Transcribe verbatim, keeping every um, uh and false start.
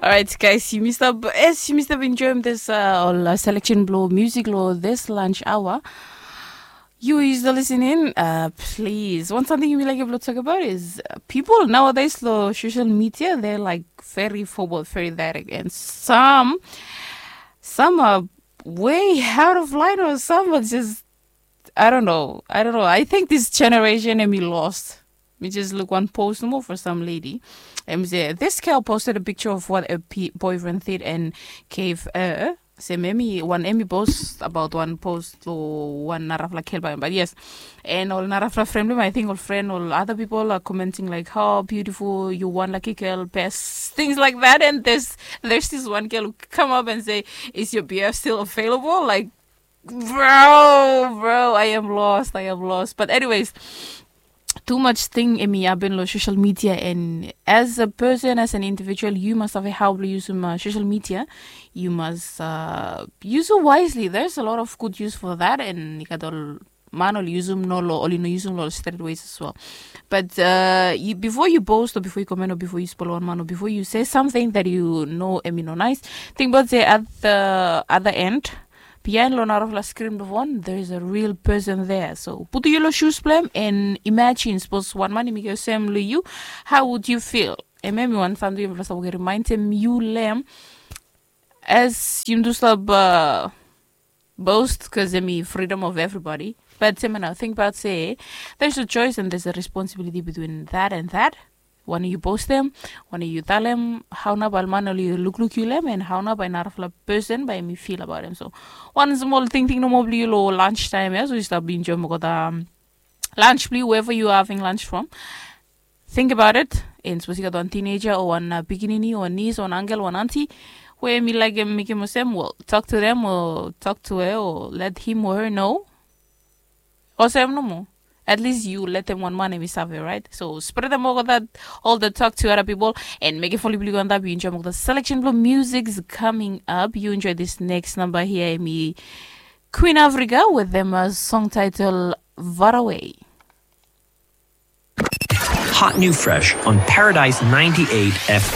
Alright, guys, yumi stap, yes, yumi stap enjoyim this uh, ol uh, selection blo music lo this lunch hour. You is the listening, uh, please. Wan samting yumi laik blo talk about is uh, people nowadays lo social media, they're like very forward, very direct, and some some are way out of line, or some are just, I don't know. I don't know. I think this generation and me lost. Mi just look one post nomo for some lady. And say, this girl posted a picture of what a boyfriend did and gave her. Se memi wan emi post about one post to one narafla girl by, but yes. And ol narafla friend, I think ol friend, ol other people are commenting like, how beautiful, you one lucky girl, best, things like that. And there's there's this one girl who come up and say, is your B F still available? Like, bro, bro, I am lost, I am lost. But anyways, too much thing emi happen lo social media, and as a person, as an individual, you must have a how to use um, uh, social media. You must uh, use it wisely. There's a lot of good use for that, and you got all man oli yusum no lo oli no yusum lo straight ways as well. But uh, you, before you post or before you comment or before you spolo wan man or before you say something that you know emi no nice, think about the at the other end, behind lo narafla screen blo phone, there is a real person there. So putu yu lo shoes blem and imagine, suppose wan man emi go sem lo yu, how would you feel? Em emi wan samting yu must remindem yu lem as yum do stop uh, boast, because emi freedom of everybody. But semena think about say there's a choice and there's a responsibility between that and that. Wan yu post them, wan yu talem, how na bai man oli lukluk yu lem, and how na bai narafla person bai mi feel about him. So one small thing thing no more blue lo lunch time, yeah? So you start being jom got um lunch blue wherever you are having lunch from. Think about it. And suppose you got one teenager or one uh, pikinini or niece or an uncle or an auntie, where me like him make him sem, well, talk to them or talk to her or let him or her know. Or say no more. At least you let them one man and me save, right? So spread them all that, all the talk to other people and make it fully blue on that. You enjoy the selection blue music is coming up. You enjoy this next number here, me Queen Africa with them a song title Far Away. Hot new fresh on Paradise ninety-eight F M.